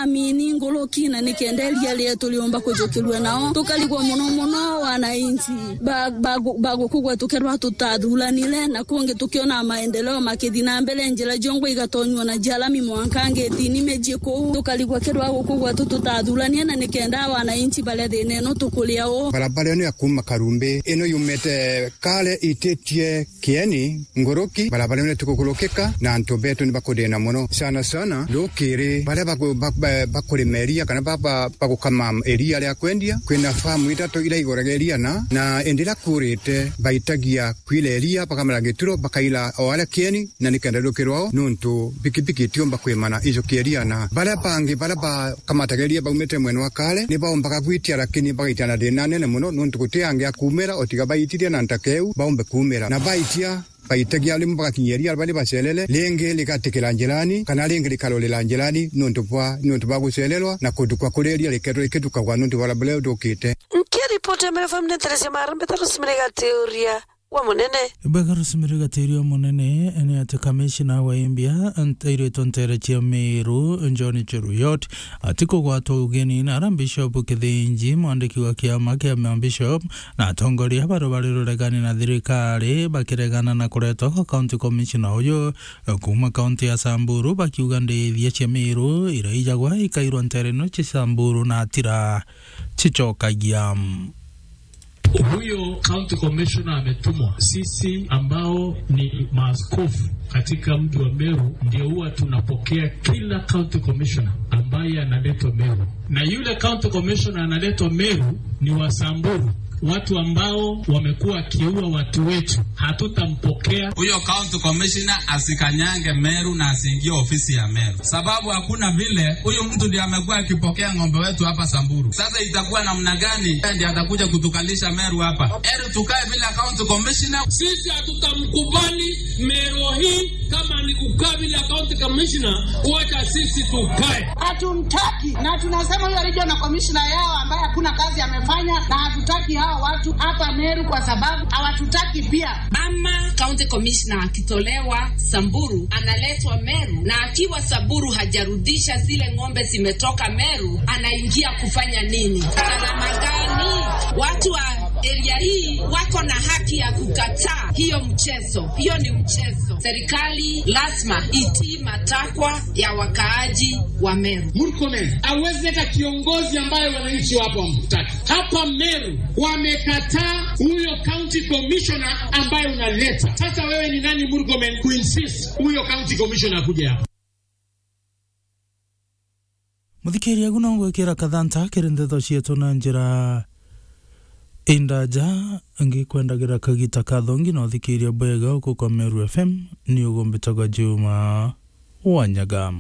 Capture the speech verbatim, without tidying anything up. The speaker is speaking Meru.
mini nguruki, na nikenda iria rietu riumba kujukirua nao. Tukarigwa muno muno wananchi ba, ba, ba guku gwetu kethirwa tutathuranire, na kungi tukiona maendeleo makithi na mbere, njira ciongwa igatonywa na jalami mwanka ngitini miji kuu. Tukarigwa kethirwa guku gwetu tutathurania, na nikenda wananchi baria thina ino tukuria u. Barabara ino ya kuuma Karumbi, ino yumite Kale ititie Kieni, Nguruki, barabara ino itikukurukika, na antu betu ni bakudina muno. Sana sana, rukiri, baria baku-, ba-, ba-, bakurima iria, kana ba-, ba-, bagukama iria ria kwendia, kwina famu itatu iria iguraga iria na, na indi iria kurite, baitagia kwira iria, bakamara gituro, bakaira o aria Kieni, na nikenda rukirwa o, nuntu pikipiki itiumba kwimana ijukia iria na. Baria bangi, baria bakamataga iria baumite mwena wa Kale, ni baumbaga gwitia, lakini bagaitia na thina nene muno, nuntu guti angi a kuumira, o tiga baitirie na ntaka iu, baumbe kuumira. Na baitia, baitagia rimwe bagakinyia iria bari bacerere, ringi rigatikira njirani, kana ringi rikarorera njirani, nuntu bwa, nuntu bwa gucererwa, na kuthukwa kuria iria rikethirwa rikitukagwa nuntu bwa barabara iu ithukite. Nkiripoti ya Meru F M ni Teresia Marambe, Teresia Miriga Tiuria wa Munene. Bwega Rosemary Gatiria wa Munene, ni ati kamishina wa Imbia, nt-, airitwe ntere cia Meru, John Cheruiyot, atikugwatwa ugeni na ara Bishop Kithinji, mwandiki wa kiama kia mabishop, na atongoria baria bari ruregani na thirikari, bakiregana na kuretwa kwa county commissioner uyu kuuma kaunti ya Samburu, bakiuga ndithia cia Meru iraijagwa ikairwa ntere ino cia Samburu na atira cicokagia. Huyo county commissioner ametumwa. Sisi ambao ni maaskofu katika mji wa Meru ndio huwa tunapokea kila county commissioner ambaye analetwa Meru. Na yule county commissioner analetwa Meru ni wa Samburu, watu ambao wamekuwa wakiua watu wetu. Hatutampokea. Huyo county commissioner asikanyange Meru na asiingie ofisi ya Meru. Sababu hakuna vile huyu mtu ndiye amekuwa akipokea ng'ombe wetu hapa Samburu. Sasa itakuwa namna gani yeye ndiye atakuja kutukalisha Meru hapa? Heri tukae bila county commissioner. Sisi hatutamkubali Meru hii kama ni kukaa bila county commissioner, wacha sisi tukae. Hatumtaki, na tunasema huyo regional commissioner yao ambaye hakuna kazi amefanya, na hatutaki hawa watu hapa Meru kwa sababu hawatutaki pia. Ama county commissioner akitolewa Samburu, analetwa Meru, na akiwa Samburu hajarudisha zile ng'ombe zimetoka Meru, anaingia kufanya nini? Salama gani? Watu wa area hii wako na haki ya kukataa hiyo mchezo. Hiyo ni mchezo. Serikali lazima itii matakwa ya wakaaji wa Meru. Murkomen hawezi leta kiongozi ambaye wananchi wapo wamtaki. Hapa Meru wamekataa huyo county commissioner ambaye unaleta. Sasa wewe ni nani, Murkomen, kuinsist huyo county commissioner akuje hapa? Muthikiria, agu no ngwikira kathanta kiri ndeto cietu na njira indaja, ngikwendagira kagita kathongi na uthikiria bwega uku kwa Meru F M, ni ugumbitagwa Juma Wanyaga.